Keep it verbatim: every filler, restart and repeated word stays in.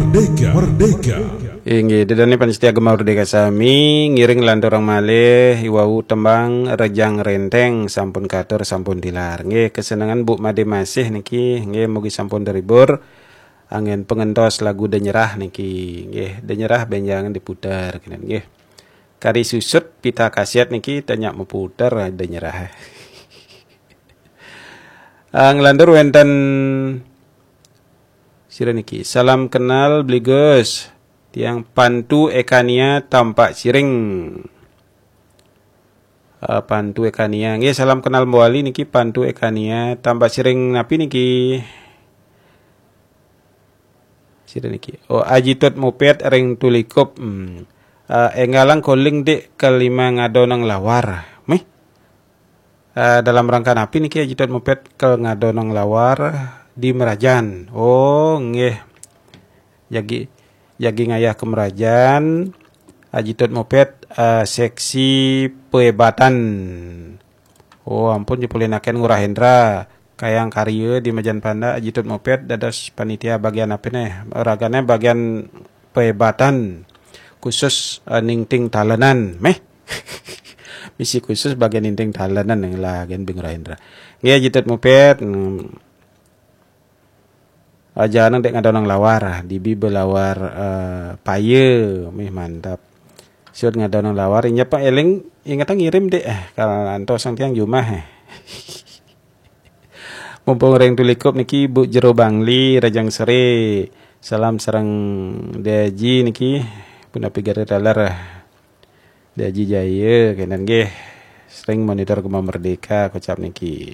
Merdeka, merdeka. Inggih, ida dané pamiarsa Gema Merdeka sami, ngiring lanturang malih i wau tembang Rejang Renteng sampun katur sampun tilar. Nggih, kesenengan Bu Made Masih niki, nggih mugi sampun terhibur. Anggén pengentos lagu Denyerah niki, nggih, Denyerah bénjangan diputer kenen nggih. Kari susut pita kaset niki tanya meputer Denyerah. Ah, nglantur wénten sira niki. Salam kenal Bli Gus. Tiang Pantu Ekania Tampak Siring. Ah, Pantu Ekania. Nggih, salam kenal Mbok Ali niki Pantu Ekania Tampak Siring napi niki? Sira niki. Oh, Aji Tut Mupet ring Tulikup. Hmm. Ah, énggalang koling dik kelima ngadonang lawar. Mih. Ah, dalam rangka napi niki Aji Tut Mupet kel ngadonang lawar di Merajan? Oh, nggih. Jagi jagi ngayah ke Merajan. Aji Tut Mupet, ah, seksi pehebatan. Oh, ampun, nyepulinaken Ngurah Hendra. Kayang karya di Majan Panda, Aji Tut Mupet dados panitia bagian apa nih? Ragané bagian pehebatan khusus, eh, ningting talenan, meh. Misi khusus bagian ningting talenan yang lah gen Bing Rahindra. Nggih, Aji Tut Mupet, mm, aja nang dek ngadonang lawar, dibi belawar, eh, paye, mih mantap. Siut ngadonang lawar, inya Pak Eling, ingetang ngirim dek, eh, kalau antos sang tiang jumah, eh. Mumpung ring Tulikup niki, Bu Jero Bangli, Rajang Seri. Salam sareng Deji niki, punapi Gare Taler. Deji Jaya, kenen nggih. Sering monitor Gema Merdeka, kocap niki.